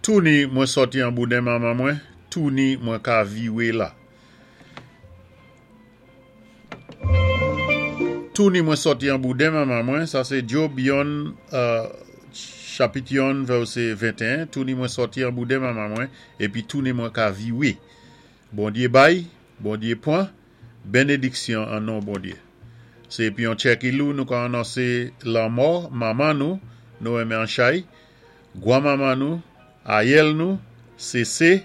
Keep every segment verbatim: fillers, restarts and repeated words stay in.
Touni mwen sòti an bouden manman mwen, touni mwen ka viwé la. Touni mwen sòti an bouden manman mwen, sa sé Job yonn, euh, chapit yonn vèsé venteyen, touni mwen sòti an bouden manman mwen, épi touni mwen ka viwé. Bondyé bay, Bondyé pwan, bénédiksyon an non Bondyé. Sé épi yon tjè ki lou nou ka anonsé lanmò manman nou, Noémie Anchay, gwan manman nou, ayèl nou, Cécé,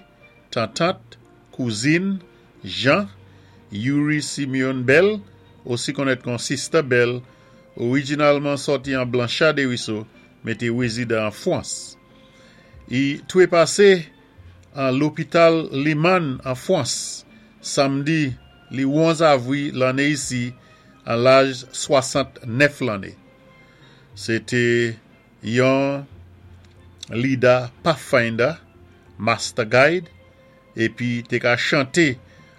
tantant, kouzin, Jean, Yuri Simeon Bell, osi konnèt kon Sister Bell, orijinalman sòti an Blanchard Desruisseaux, men té wézidan an Fwans. I twépasé an lopital Limann an Fwans, samdi li onz avwi lanné isi an laj swasant-nèf lanné. Sé té yon leader Pathfinder, Master Guide, épi té ka chanté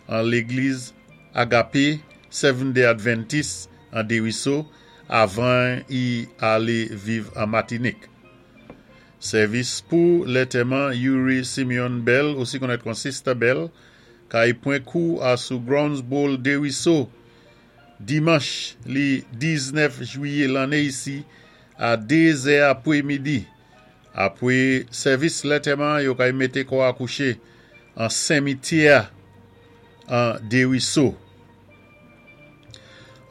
an légliz Agape Seventh Day Adventist an Desruisseaux avan i alé viv an Matinik. Sèvis pou lantèman Yuri Simeon Bell, osi konnèt kon Sister Bell, kay pwan kou asou Grounds Bowl Desruisseaux, dimanch li diznèf jwiyé lanné isi a dé zè apwé midi. Apwé sèvis lantèman, yo kay mété kò a kouché an simityè an Desruisseaux.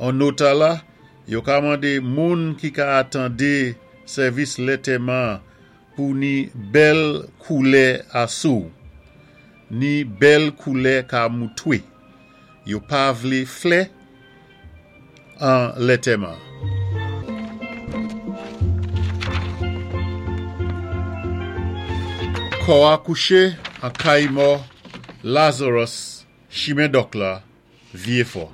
An nota la, yo ka mandé moun ki ka atandé sèvis lantèman pou ni bèl koulè asou, ni bèl koulè ka moutwé. Yo pa vlé flè an lantèman. Kò a kouché an kay mò Lazarus, chimen Dòk la, Vyé Fò.